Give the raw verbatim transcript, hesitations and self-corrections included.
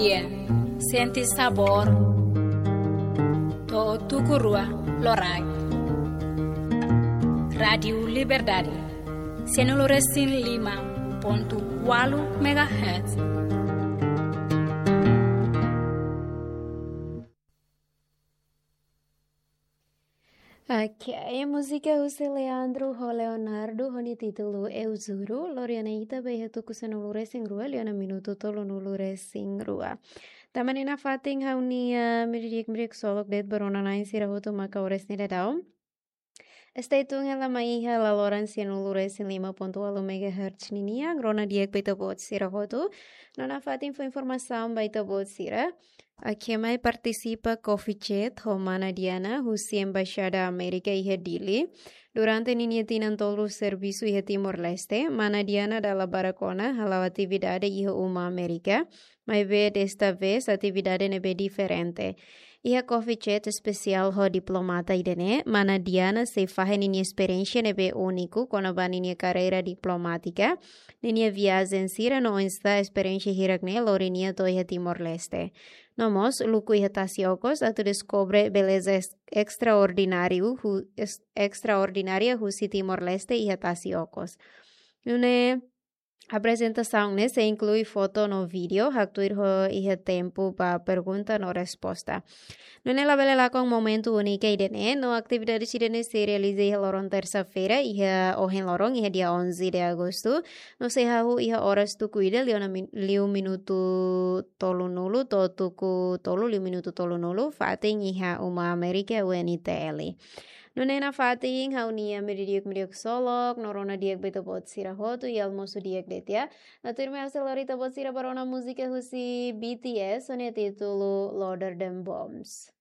Sente sabór to'o tuku rua loraik. Rádiu Liberdade, sianulu resin lima pontu ualu megahertz. Ok, múzika husi Leandro ho Leonardo ho nia títulu Eu Juro, lori ona ita ba iha tuku sanulu resin rua, liu ona minutu tolunulu resin rua. Tanba ne'e nafatin ha'u-nia, ah, meiudia di'ak, meiudia di'ak ksolok de'it ba rona-na'in sira hotu maka oras ne'e daudaun. Stay tuned hela mai iha laloran sianulu resin lima pontu ualu megahertz ninian, rona di'ak ba ita-boot sira hotu. No nafatin fó informasaun ba ita-boot sira. Aki mai partisipa Coffee Chat ho Mana Diana husi Embaixada Amérika iha Dili. Durante ninia tinan tolu servisu iha Timor-Leste, Mana Diana dala barak ona hala'o atividade iha uma Amérika, maibé desta vez atividade ne'ebé diferente. Iha Coffee Chat espesiál ho diplomata ida-ne'e, Mana Diana sei fahe ninia esperiénsia ne'ebé úniku kona-ba ninia karreira diplomátika, ninia viajen sira no oinsá esperiénsia hirak-ne'e lori nia to'o iha Timor-Leste. No mós luku iha tasi okos atu deskobre beleza es-, estraordináriu hu-, es-, estraordinária husi Timor-Leste iha tasi okos. Nune'e aprezentasaun ne'e sei inklui foto no vídeo, haktuir ho iha tempu ba pergunta no resposta. Nune'e labele lakon momentu úniku ida-ne'e, no atividade ida-ne'e sei realiza iha loron tersa-feira, iha ohin loron, iha dia onze de agosto, no sei hahú iha oras tuku ida, liu ona min-, liu minutu tolunulu, to'o tuku tolu, liu minutu tolunulu, fatin iha uma Amérika U N T L. Nune'e nafatin ha'u-nia meiudia di'ak, meiudia di'ak ksolok, no rona di'ak ba ita-boot sira hotu, i almosu di'ak de'it. No tuirmai ha'u sei lori ita-boot sira ba rona múzika husi B T S, ho nia títulu Louder Than Bombs.